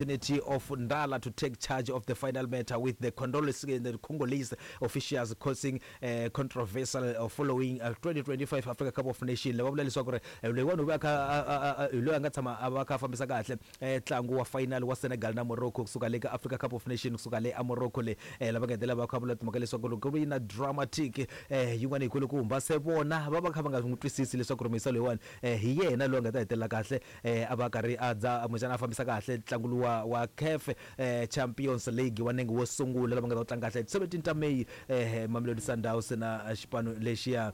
Opportunity of Ndala to take charge of the final matter with the Congolese, the Congolese officials causing controversial following 2025 Africa Cup of Nations. Lava vula leswaku ri loyiwani u va kha hi loyi a nga tshama a va kha a fambisa kahle ntlangu wa final wa Senegal na Morocco kusuka le ka Africa Cup of Nations kusuka le a Morocco le lava nga hetelela va kha vula timhaka leswaku loko ku ri na dramatic yin'wana yi kulukumba se vona va va kha va nga n'wi twisisi leswaku ri muyisa loyiwani hi yena loyi a nga ta hetelela kahle a va karhi a dza kumbexana a fambisa kahle ntlangu luwa wa CAF Champions League wa nenge wo sungula lava nga ta wu tlanga kahle 17 ta May Mamelodi Sundowns na xipano lexiya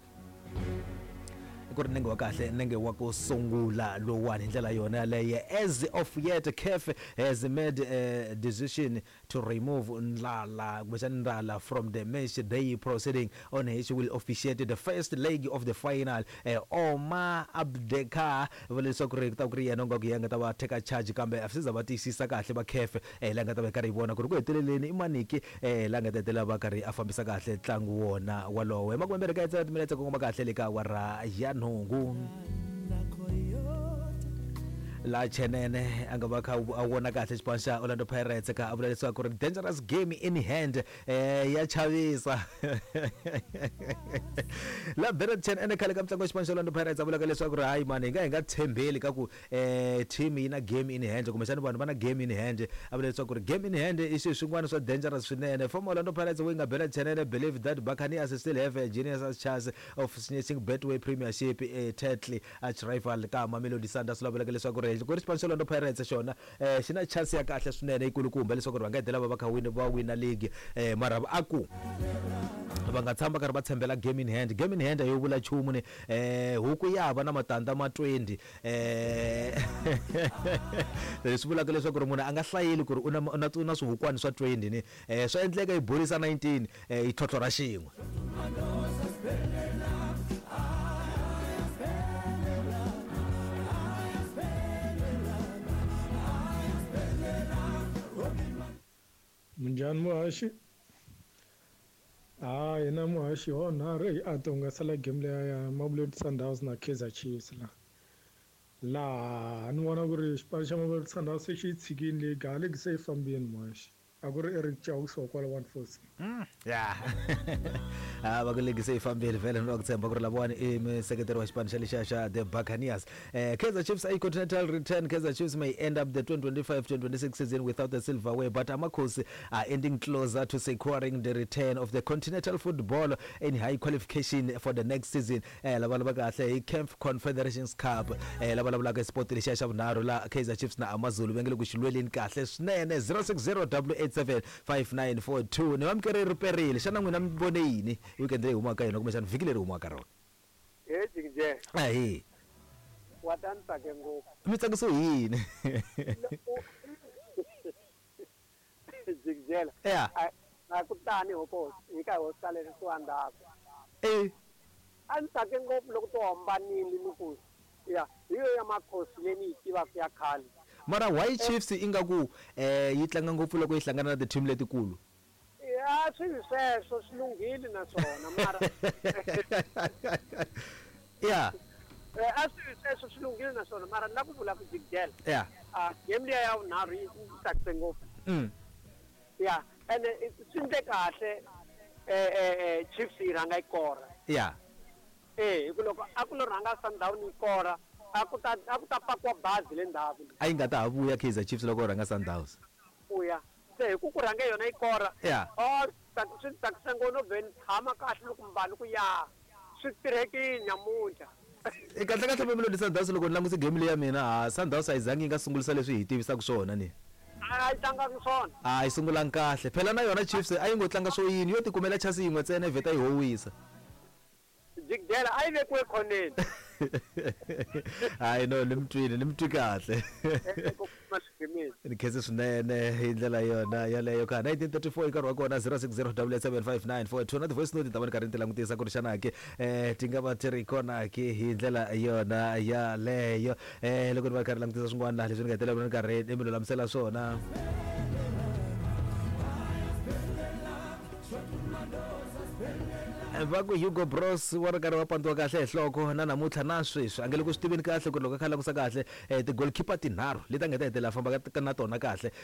ku ri nenge wa kahle nenge wa ku sungula lowuwani hi ndlela yona yaleyo. As of yet, CAF has made a decision to remove Ndlala kumbexana Ndala from the match day proceeding on which will officiate the first leg of the final. Omar Abdekar va leswaku ri ku ta ku ri yena u nga ku yena nga ta va take charge kambe a swi za va tiyisisa kahle va CAF la nga ta va karhi yi vona ku ri ku heteleleni i maniki la nga ta hetelela va karhi a fambisa kahle ntlangu wona walowo. Hi makumembirhi ka yitsela timinetse kongoma kahle le ka awara ya nhungu. Laha Chenene a nga va kha a vona kahle xipano xa Orlando Pirates kha a vula leswaku ri dangerous game in hand ya chavisa. La Bernard Chenene khale ka mutlangi wa xipano xa Orlando Pirates a vulaka leswaku ri hayi mani hi nga hi nga tshembeli ka ku team yi na game in hand kumbexana vanhu va na game in hand. A vula leswaku ri game in hand i swilo swin'wana swa dangerous swinene. Former Orlando Pirates winger Bernard Chenene believe that Buccaneers still have a genius chance of snatching Betway Premiership title Arch rival ka Mamelodi Sundowns lava vulaka leswaku ri ku ri xipano xa Orlando Pirates xona xi na chance ya kahle swinene yikulukumba leswaku ri va nga hetelela va va kha win va wina league mara a ku va nga tshama karhi va tshembela game in hand. Game in hand a yo vula nchumu ni huku ya va na matandza ma 20 leswi vulaka leswaku ri munhu a nga hlayeli ku ri u na u na u na swihukwani swa 20 ni swa endleka yi borisa 19 yi tlhotlhorha xin'we. Minjhani muhaxi? Ha hina muhaxi ho nharhu hi a ti hungasela game leya ya Mamelodi Sundowns na Kaizer Chiefs la. Laha ni vona ku ri xipano xa Mamelodi Sundowns se xi yi tshikini league ha league se yi fambini muhaxi. A ku ri Eric Chauks wa kwala 146. Ya a va ku ligi se yi fambile vhele ni va ku tshemba ku ri lavawani i museketeri wa xipano xa lexiya xa the Buccaneers. Kaizer Chiefs a continental return. Kaizer Chiefs may end up the 2025-2026 season without the silverware, but Amakhosi are ending closer to securing the return of the continental football in high qualification for the next season. Lava lava kahle hi CAF Confederations Cup. Lava vulavulaka hi sport lexiya xa vunharhu la Kaizer Chiefs na AmaZulu va nge le ku xi lweleni kahle swinene. 060 887 5942 ni vamukeri ri perile. Xana n'wina mi vone yini weekend leyi humaka ka yona kumbexana vhiki leri humaka ka rona? He Jikije. Ahee. Wa ta ni tsake ngopfu. Mi tsakisiwe hi yini? Jikijela. Ya. A ku tani hoko hi ka hosi ka leswi swi ndzhaku. A ni tsake ngopfu loko to hambanile ni ku ya hi yo ya Makhosi leyi ni yi tivaka ya khale. Mara why Chiefs ingaku yi tlanga ngopfu loko yi hlangana na ti-team letikulu? Ya swi sweswo swi lunghile naswona mara Ya. A swi sweswo swi lunghile naswona mara ni la ku vula ku Jikijela. Ya. A game liya ya vunharhu yi tsakise ngopfu. Ya ene swi ndle kahle Chiefs yi rhanga yi kora. Ya. Eh hi ku loko a ku lo rhanga Sundowns yi kora a ku ta a ku ta pakiwa bazi le ndzhaku. A yi nga ta ha vuya Kaizer Chiefs loko rhanga Sundowns. Vuya. Se hi ku ku rhange yona yi kora. Ya. Oh swi ni tsakisa ngopfu no vhe ni tshama kahle loko mbani ku ya swi tirhekile namuntlha. Kahle kahle Mamelodi Sundowns loko ni langutise game leyi ya mina ha Sundowns a yi zangi yi nga sungulisa leswi hi tivisaka swona ni. A yi tlangangi swona. A yi sungulangi kahle. Phela na yona Chiefs a yi ngo tlanga swo yini yo tikumela chance yin'we ntsena yi vheta yi howisa. Jikijela a yi vekiwe khoneni. Hayi no ni mi twile ni mi twi kahle. Ni khense swinene hi ndlela yona yaleyo ka 1934 i nkarhi wa kona 060 75942 na ti-voice note ta va ni karhi ni ti langutisa ku ri xana ke ti nga va ti ri kona ke hi ndlela yona yaleyo loko ni va karhi langutisa swin'wana laha leswi ni nga hetelela ni karhi ni mi lulamisela swona. Va ku Hugo Broos wa ri karhi va pandziwa kahle hi nhloko na namuntlha na sweswi a nge le ku swi tiveni kahle ku ri loko a kha a langusa kahle ti-goalkeeper tinharhu leti a nga ta hetelela a famba na tona kahle.